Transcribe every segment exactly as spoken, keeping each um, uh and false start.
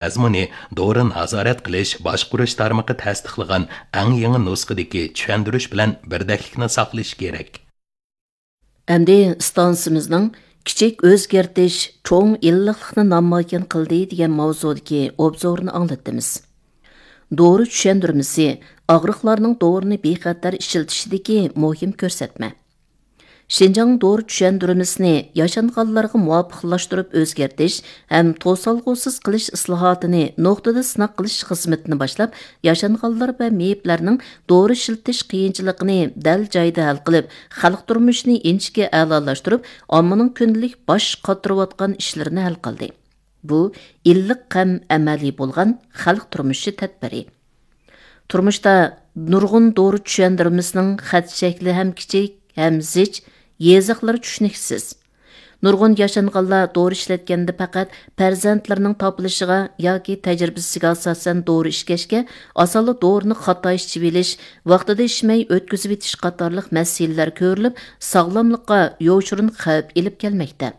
مەزمۇنى دورا نازارەت قىلىش باشقۇرۇش تارمىقى تەستىقلىغان ئەڭ يېڭى نۇسخىدىكى چۈشەندۈرۈش بىلەن بىردەكلىكنى ساقلىشى كېرەك. ئەمدى ئىستانسىمىزنىڭ كىچىك ئۆزگەرتىش چوڭ ئىللىقلىقنى نامايان قىلدى دېگەن ماۋزۇدىكى ئوبزورنى ئاڭلىتىمىز. دورا چۈشەندۈرمىسى ئاغرىقلارنىڭ دورىنى بىخەتەر ئىشلىتىشىدىكى مۇھىم كۆرسەتمە. شىنجاڭ دورا چۈشەندۈرمىسىنى ياشانغانلارغا مۇۋاپىقلاشتۇرۇپ ئۆزگەرتىش ھەم توسالغۇسىز قىلىش ئىسلاھاتىنى نۇقتىدا سىناق قىلىش خىزمىتىنى باشلاپ، ياشانغانلار ۋە مېيىپلەرنىڭ دورا ئىشلىتىش قىيىنچىلىقىنى دەل جايىدا ھەل قىلىپ، خەلق تۇرمۇشىنى ئىنچىكە ئەلالاشتۇرۇپ، ئاممىنىڭ كۈندىلىك باش قاتۇرۇۋاتقان ئىشلىرىنى ھەل قىلدى. بۇ ئىللىق ھەم ئەمەلىي بولغان خەلق تۇرمۇشى تەدبىرى. تۇرمۇشتا نۇرغۇن دورا چۈشەندۈرمىسىنىڭ خەت شەكلى ھەم كىچىك، ھەم زىچ، يېزىقلىرى چۈشىنىكسىز. نۇرغۇن ياشانغانلار دورا ئىشلەتكەندە پەقەت پەرزەنتلىرىنىڭ تاپىلىشىغا ياكى تەجرىبىسىگە ئاساسەن دورا ئىچكەچكە، ئاسانلا دورىنى خاتا ئىچىۋېلىش، ۋاقتىدا ئىچمەي ئۆتكۈزۈۋېتىش قاتارلىق مەسىلىلەر كۆرۈلۈپ، ساغلاملىققا يوشۇرۇن خەۋپ ئېلىپ كەلمەكتە.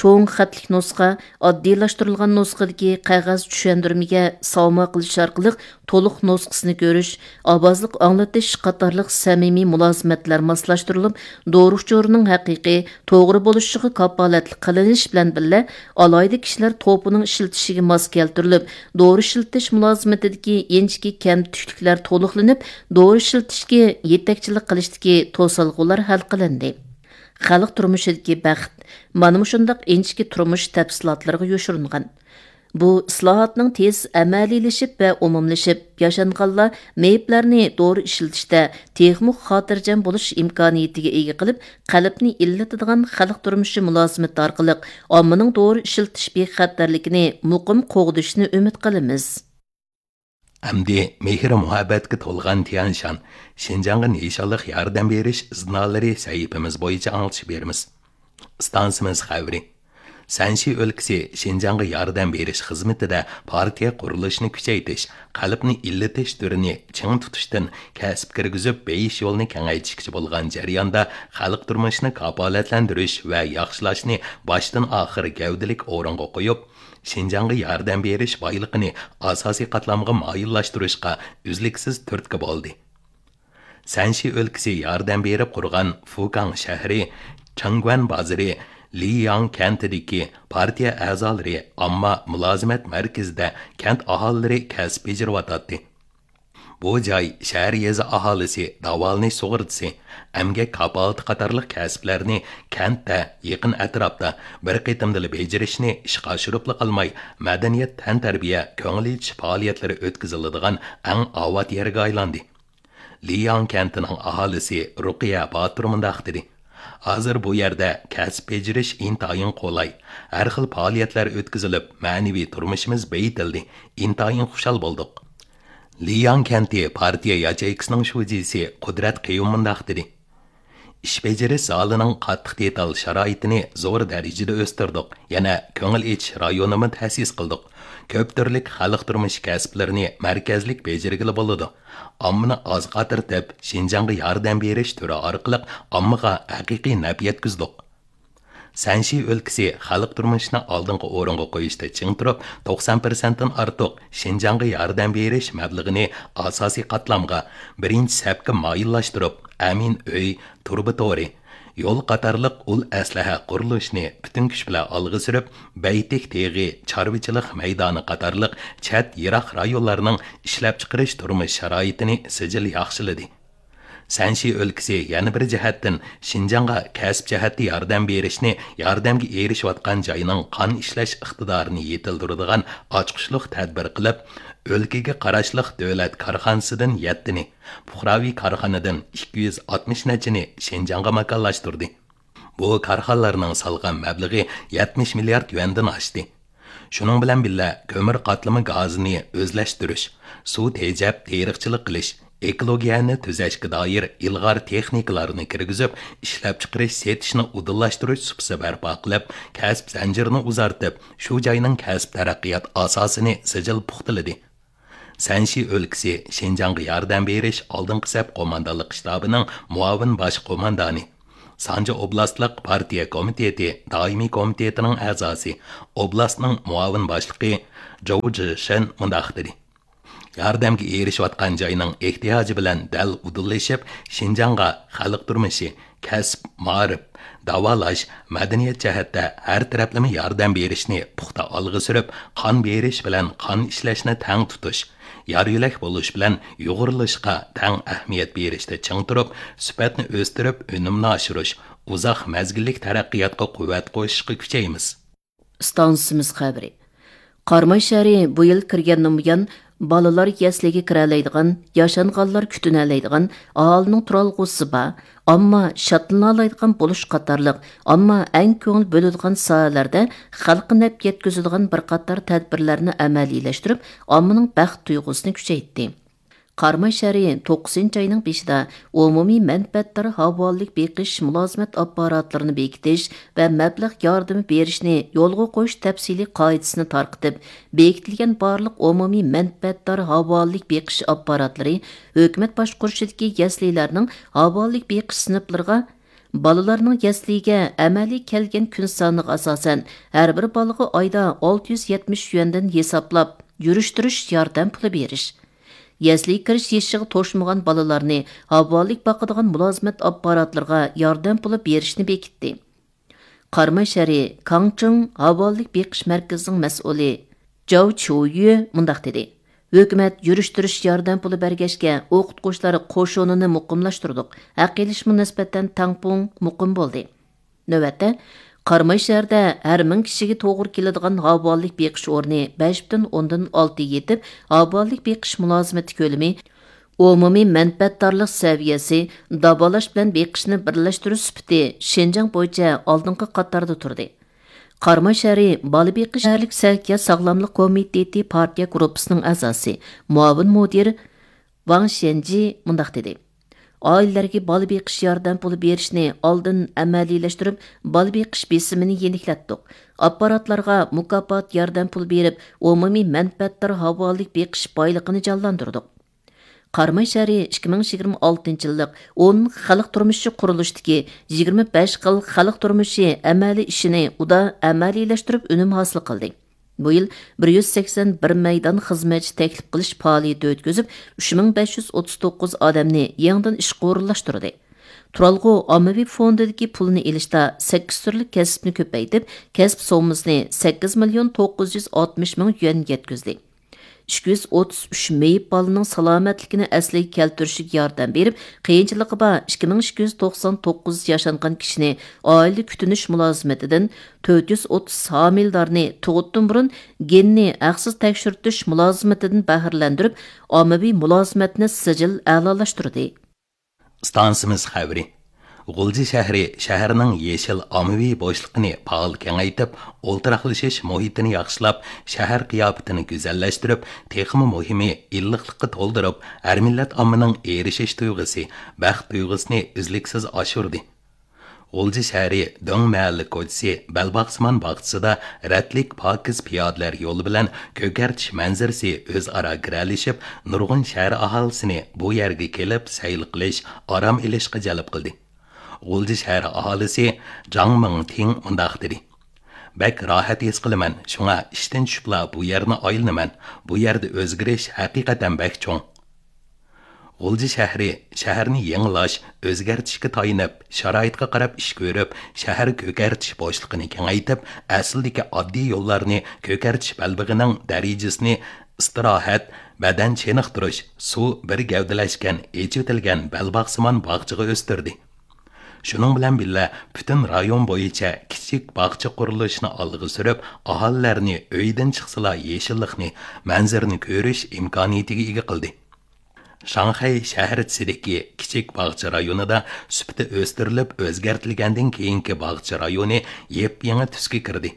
چوڭ خەتلىك نۇسخا، ئاددىيلاشتۇرۇلغان نۇسخىدىكى قەغەز چۈشەندۈرمىگە ساۋما قىلىش ئارقىلىق تولۇق نۇسخىسىنى كۆرۈش، ئاۋازلىق ئاڭلىتىش قاتارلىق سەمىمىي مۇلازىمەتلەر ماسلاشتۇرۇلۇپ، دورا ئۇچۇرىنىڭ ھەقىقىي، توغرا بولۇشىغا كاپالەتلىك قىلىنىش بىلەن بىللە، ئالاھىدە كىشىلەر توپىنىڭ ئىشلىتىشىگە ماس كەلتۈرۈلۈپ، دورا ئىشلىتىش مۇلازىمىتىدىكى ئىنچىكە كەمتۈكلۈكلەر تولۇقلىنىپ، دورا ئىشلىتىشكە يېتەكچىلىك قىلىشتىكى توسالغۇلار ھەل قىلىندى. خەلق تۇرمۇشىدىكى بەخت مانا مۇشۇنداق ئىنچىكە تۇرمۇش تەپسىلاتلىرىغا يوشۇرۇنغان. بۇ ئىسلاھاتنىڭ تېز ئەمەلىيلىشىپ ۋە ئومۇملىشىپ، ياشانغانلار مېيىپلەرنى دورا ئىشلىتىشتە تېخىمۇ خاتىرجەم بولۇش ئىمكانىيىتىگە ئىگە قىلىپ، قەلبنى ئىللىتىدىغان خەلق تۇرمۇشى مۇلازىمىتى ئارقىلىق ئاممىنىڭ دورا ئىشلىتىش بىخەتەرلىكىنى مۇقىم قوغدىشىنى ئۈمىد قىلىمىز. ئەمدى مېھىر-مۇھەببەتكە تولغان تيەنشان، شىنجاڭغا نىشانلىق ياردەم بېرىش ئىزنالىرى سەھىپىمىز بويىچە ئاڭلىتىش بېرىمىز. ئىستانسىمىز خەۋىرى. سەنشى ئۆلكىسى شىنجاڭغا ياردەم بېرىش خىزمىتىدە پارتىيە قۇرۇلۇشىنى كۈچەيتىش، قەلبنى ئىللىتىش تۈرىنى چىڭ تۇتۇشتىن كەسىپ كىرگۈزۈپ بېيىش يولىنى كېڭەيتىشكىچە بولغان جەرياندا خەلق تۇرمۇشىنى كاپالەتلەندۈرۈش ۋە ياخشىلاشنى باشتىن ئاخىر گەۋدىلىك ئورۇنغا قويۇپ، شىنجاڭغا ياردەم بېرىش بايلىقىنى ئاساسىي قاتلامغا مايىللاشتۇرۇشقا ئۈزلۈكسىز تۈرتكە بولدى. سەنشى ئۆلكىسى ياردەم بېرىپ قۇرغان فۇكاڭ شەھىرى، چېڭگۈەن بازىرى، لىياڭ كەنتىدىكى پارتىيە ئەزالىرى ئامما مۇلازىمەت مەركىزىدە كەنت ئاھالىلىرى كەسىپ بېجىرىۋاتاتتى. بۇ جاي شەھەر يېزا ئاھالىسى داۋالىنىش سۇغۇرتىسى، ئەمگەك كاپالىتى قاتارلىق كەسىپلەرنى كەنتتە، يېقىن ئەتراپتا بىر قېتىمدىلا بېجىرىشنى ئىشقا ئاشۇرۇپلا قالماي، مەدەنىيەت، تەنتەربىيە، كۆڭۈل ئېچىش پائالىيەتلىرى ئۆتكۈزۈلىدىغان ئەڭ ئاۋات يەرگە ئايلاندى. لىياڭ كەنتىنىڭ ئاھالىسى رۇقىيە باتۇر مۇنداق دېدى: ھازىر بۇ يەردە كەسىپ بېجىرىش ئىنتايىن قولاي، ھەر خىل پائالىيەتلەر ئۆتكۈزۈلۈپ، مەنىۋى تۇرمۇشىمىز بېيىتىلدى، ئىنتايىن خۇشال بولدۇق. لىياڭ كەنتى پارتىيە ياچېيكىسىنىڭ شۇجىسى قۇدرەت قېيۇم مۇنداق دېدى: ئىش بېجىرىش زالىنىڭ قاتتىق دېتال شارائىتىنى زور دەرىجىدە ئۆستۈردۇق، يەنە كۆڭۈل ئېچىش رايونىمۇ تەسىس قىلدۇق. كۆپ تۈرلۈك خەلق تۇرمۇشى كەسىپلىرىنى مەركەزلىك بېجىرگىلى بولىدۇ. ئاممىنى ئازغا تارتىپ، شىنجاڭغا ياردەم بېرىش تۈرى ئارقىلىق ئاممىغا ھەقىقىي نەپ يەتكۈزدۇق. سەنشى ئۆلكىسى خەلق تۇرمۇشىنى ئالدىنقى ئورۇنغا قويۇشتا چىڭ تۇرۇپ، توقسان پىرسەنتتىن ئارتۇق شىنجاڭغا ياردەم بېرىش مەبلىغىنى ئاساسىي قاتلامغا، بىرىنچى سەپكە مايىللاشتۇرۇپ، ئەمىن ئۆي، تۇرۇبا تورى، يول قاتارلىق ئۇل ئەسلىھە قۇرۇلۇشىنى پۈتۈن كۈچ بىلەن ئالغا سۈرۈپ، بەيتىك تېغى، چارۋىچىلىق مەيدانى قاتارلىق چەت، يىراق رايونلارنىڭ ئىشلەپچىقىرىش تۇرمۇش شارائىتىنى سىجىل ياخشىلىدى. سەنشى ئۆلكىسى يەنە بىر جەھەتتىن شىنجاڭغا كەسىپ جەھەتتە ياردەم بېرىشنى ياردەمگە ئېرىشىۋاتقان جاينىڭ قان ئىشلەش ئىقتىدارىنى يېتىلدۈرىدىغان ئاچقۇچلۇق تەدبىر قىلىپ، ئۆلكىگە قاراشلىق دۆلەت كارخانىسىدىن يەتتىنى، پۇقراۋى كارخانىدىن ئىككى يۈز ئاتمىش نەچچىنى شىنجاڭغا ماكانلاشتۇردى. بۇ كارخانىلارنىڭ سالغان مەبلىغى يەتمىش مىليارد يۈەندىن ئاشتى. شۇنىڭ بىلەن بىللە، كۆمۈر قاتلىما گازىنى ئۆزلەشتۈرۈش، سۇ تېجەپ تېرىقچىلىق قىلىش، ئېكولوگىيەنى تۈزەشكە دائىر ئىلغار تېخنىكىلارنى كىرگۈزۈپ، ئىشلەپچىقىرىش، سېتىشنى ئۇدۇللاشتۇرۇش سۇپىسى بەرپا قىلىپ، كەسىپ زەنجىرىنى ئۇزارتىپ، شۇ جاينىڭ كەسىپ تەرەققىيات ئاساسىنى سىجىل پۇختىلىدى. سەنشى ئۆلكىسى شىنجاڭغا ياردەم بېرىش ئالدىنقى سەپ قوماندانلىق شتابىنىڭ مۇئاۋىن باش قوماندانى، سانجى ئوبلاستلىق پارتىيە كومىتېتى دائىمىي كومىتېتىنىڭ ئەزاسى، ئوبلاستنىڭ مۇئاۋىن باشلىقى جوۋ جىشېن مۇنداق دېدى: ياردەمگە ئېرىشىۋاتقان جاينىڭ ئېھتىياجى بىلەن دەل ئۇدۇللىشىپ، شىنجاڭغا خەلق تۇرمۇشى، كەسىپ، مائارىپ، داۋالاش، مەدەنىيەت جەھەتتە ھەر تەرەپلىمە ياردەم بېرىشنى پۇختا ئالغا سۈرۈپ، قان بېرىش بىلەن قان ئىشلەشنى تەڭ تۇتۇش، يار يۆلەك بولۇش بىلەن يۇغۇرۇلۇشقا تەڭ ئەھمىيەت بېرىشتە چىڭ تۇرۇپ، سۈپەتنى ئۆستۈرۈپ، ئۈنۈمنى ئاشۇرۇش، ئۇزاق مەزگىللىك تەرەققىياتقا قۇۋۋەت قوشۇشقا كۈچەيمىز. ئىستانسىمىز خەۋىرى. قاراماي شەھىرى بۇ يىل كىرگەندىن بۇيان، بالىلار يەسلىگە كىرەلەيدىغان، ياشانغانلار كۈتۈنەلەيدىغان، ئاھالىنىڭ تۇرالغۇسى بار، ئامما شادلىنالايدىغان بولۇش قاتارلىق ئامما ئەڭ كۆڭۈل بۆلىدىغان ساھەلەردە خەلققە نەپ يەتكۈزىدىغان بىر قاتار تەدبىرلەرنى ئەمەلىيلەشتۈرۈپ، ئاممىنىڭ بەخت تۇيغۇسىنى كۈچەيتتى. قاراماي شەھىرى توققۇزىنچى ئاينىڭ بېشىدا ئومۇمىي مەنپەئەتدار ھاۋالىلىك بېقىش مۇلازىمەت ئاپپاراتلىرىنى بېكىتىش ۋە مەبلەغ ياردىمى بېرىشنى يولغا قويۇش تەپسىلىي قائىدىسىنى تارقىتىپ، بېكىتىلگەن بارلىق ئومۇمىي مەنپەئەتدار ھاۋالىلىك بېقىش ئاپپاراتلىرى ھۆكۈمەت باشقۇرۇشىدىكى يەسلىلەرنىڭ ھاۋالىلىك بېقىش سىنىپلىرىغا بالىلارنىڭ يەسلىگە ئەمەلىي كەلگەن كۈن سانىغا ئاساسەن، ھەر بىر بالىغا ئايدا ئالتە يۈز يەتمىش يۈەندىن ھېسابلاپ يۈرۈشتۈرۈش ياردەم پۇلى بېرىش. يەسلىگە كىرىش يېشىغا توشمىغان بالىلارنى ھاۋالىلىك باقىدىغان مۇلازىمەت ئاپپاراتلىرىغا ياردەم پۇلى بېرىشنى بېكىتتى. قاراماي شەھىرى كاڭچىڭ ھاۋالىلىك بېقىش مەركىزىنىڭ مەسئۇلى جاۋ چيۇيۈ مۇنداق دېدى: ھۆكۈمەت يۈرۈشتۈرۈش ياردەم پۇلى بەرگەچكە، ئوقۇتقۇچىلار قوشۇنىنى مۇقىملاشتۇردۇق، ھەق ئېلىشمۇ نىسبەتەن تەڭپۇڭ، مۇقىم بولدى. نۆۋەتتە، قاراماي شەھىرىدە ھەر مىڭ كىشىگە توغرا كېلىدىغان ھاۋالىلىك بېقىش ئورنى بەش پۈتۈن ئوندىن ئالتە يېتىپ، ھاۋالىلىك بېقىش مۇلازىمىتى كۆلىمى ئومۇمىي مەنپەئەتدارلىق سەۋىيەسى، داۋالاش بىلەن بېقىشنى بىرلەشتۈرۈش سۈپىتى شىنجاڭ بويىچە ئالدىنقى قاتاردا تۇردى. قاراماي شەھىرى بالا بېقىش شەھەرلىك سەھىيە ساغلاملىق كومىتېتى پارتىيە گۇرۇپپىسىنىڭ ئەزاسى، مۇئاۋىن مۇدىر ۋاڭ شيەنجى مۇنداق دېدى: ئائىلىلەرگە بالا بېقىش ياردەم پۇلى بېرىشنى ئالدىن ئەمەلىيلەشتۈرۈپ، بالا بېقىش بېسىمىنى يېنىكلەتتۇق. ئاپپاراتلارغا مۇكاپات ياردەم پۇلى بېرىپ، ئومۇمىي مەنپەئەتدار ھاۋالىلىك بېقىش بايلىقىنى جانلاندۇردۇق. قاراماي شەھىرى ئىككى مىڭ يىگىرمە ئالتىنچى يىللىق ئون خەلق تۇرمۇشى قۇرۇلۇشىدىكى يىگىرمە بەش خىل خەلق تۇرمۇشى ئەمەلىي ئىشىنى ئۇدا ئەمەلىيلەشتۈرۈپ ئۈنۈم ھاسىل قىلدى. بۇ يىل بىر يۈز سەكسەن بىر مەيدان خىزمەتچى تەكلىپ قىلىش پائالىيىتى ئۆتكۈزۈپ، ئۈچ مىڭ بەش يۈز ئوتتۇز توققۇز ئادەمنى يېڭىدىن ئىشقا ئورۇنلاشتۇردى. تۇرالغۇ ئاممىۋى فوندىدىكى پۇلنى ئېلىشتا سەككىز تۈرلۈك كەسىپنى كۆپەيتىپ، كەسىپ سوممىسىنى سەككىز مىليون توققۇز يۈز ئاتمىش مىڭ يۈەنگە يەتكۈزدى. ئىككى يۈز ئوتتۇز ئۈچ مېيىپ بالىنىڭ سالامەتلىكىنى ئەسلىگە كەلتۈرۈشىگە ياردەم بېرىپ، قىيىنچىلىقى بار ئىككى مىڭ ئىككى يۈز توقسان توققۇز ياشانغان كىشىنى ئائىلە كۈتۈنۈش مۇلازىمىتىدىن، تۆت يۈز ئوتتۇز ھامىلىدارنى تۇغۇتتىن بۇرۇن گېننى ھەقسىز تەكشۈرتۈش مۇلازىمىتىدىن بەھرىلەندۈرۈپ، ئاممىۋى مۇلازىمەتنى سىجىل ئەلالاشتۇردى. ئىستانسىمىز خەۋىرى. غۇلجا شەھىرى شەھەرنىڭ يېشىل ئاممىۋى بوشلۇقىنى پائال كېڭەيتىپ، ئولتۇراقلىشىش مۇھىتىنى ياخشىلاپ، شەھەر قىياپىتىنى گۈزەللەشتۈرۈپ، تېخىمۇ مۇھىمى، ئىللىقلىققا تولدۇرۇپ، ھەر مىللەت ئاممىنىڭ ئېرىشىش تۇيغۇسى، بەخت تۇيغۇسىنى ئۈزلۈكسىز ئاشۇردى. غۇلجا شەھىرى دۆڭ مەھەللە كوچىسى بەلباغسىمان باغچىسىدا رەتلىك پاكىز پىيادىلەر يولى بىلەن كۆكەرتىش مەنزىرىسى ئۆزئارا گىرەلىشىپ، نۇرغۇن شەھەر ئاھالىسىنى بۇ يەرگە كېلىپ سەيل قىلىش، ئارام ئېلىشقا جەلپ قىلدى. غۇلجا شەھەر ئاھالىسى جاڭ مىڭتىڭ مۇنداق دېدى: بەك راھەت ھېس قىلىمەن، شۇڭا ئىشتىن چۈشۈپلا بۇ يەرنى ئايلىنىمەن. بۇ يەردە ئۆزگىرىش ھەقىقەتەن بەك چوڭ. غۇلجا شەھىرى شەھەرنى يېڭىلاش، ئۆزگەرتىشكە تايىنىپ، شارائىتقا قاراپ ئىش كۆرۈپ، شەھەر كۆكەرتىش بوشلۇقىنى كېڭەيتىپ، ئەسلىدىكى ئاددىي يوللارنى كۆكەرتىش بەلبېغىنىڭ دەرىجىسىنى ئىستىراھەت، بەدەن چېنىقتۇرۇش، سۇ بىر گەۋدىلەشكەن، ئېچىۋېتىلگەن بەلباغسىمان باغچىغا ئۆستۈردى. شۇنىڭ بىلەن بىللە، پۈتۈن رايون بويىچە كىچىك باغچە قۇرۇلۇشىنى ئالغا سۈرۈپ، ئاھالىلەرنى ئۆيدىن چىقسىلا يېشىللىقنى، مەنزىرىنى كۆرۈش ئىمكانىيىتىگە ئىگە قىلدى. شاڭخەي شەھەرچىسىدىكى كىچىك باغچە رايونىدا سۈپىتى ئۆستۈرۈلۈپ ئۆزگەرتىلگەندىن كېيىنكى باغچە رايونى يېپيېڭى تۈسكە كىردى.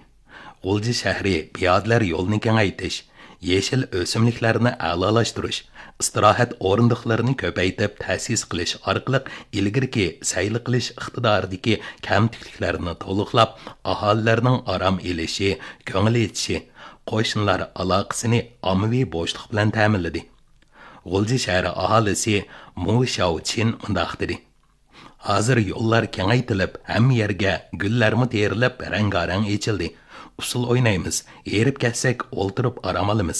غۇلجا شەھىرى پىيادىلەر يولىنى كېڭەيتىش، يېشىل ئۆسۈملۈكلەرنى ئەلالاشتۇرۇش، ئىستىراھەت ئورۇندۇقلىرىنى كۆپەيتىپ تەسىس قىلىش ئارقىلىق ئىلگىرىكى سەيلە قىلىش ئىقتىدارىدىكى كەمتۈكلۈكلەرنى تولۇقلاپ، ئاھالىلەرنىڭ ئارام ئېلىشى، كۆڭۈل ئېچىشى، قوشنىلار ئالاقىسىنى ئاممىۋى بوشلۇق بىلەن تەمىنلىدى. غۇلجا شەھىرى ئاھالىسى مۇ شياۋچىن مۇنداق دېدى: ھازىر يوللار كېڭەيتىلىپ، ھەممە يەرگە گۈللەرمۇ تېرىلىپ، رەڭگارەڭ ئېچىلدى. ئۇسسۇل ئوينايمىز. ھېرىپ كەتسەك، ئولتۇرۇپ ئارام ئالىمىز.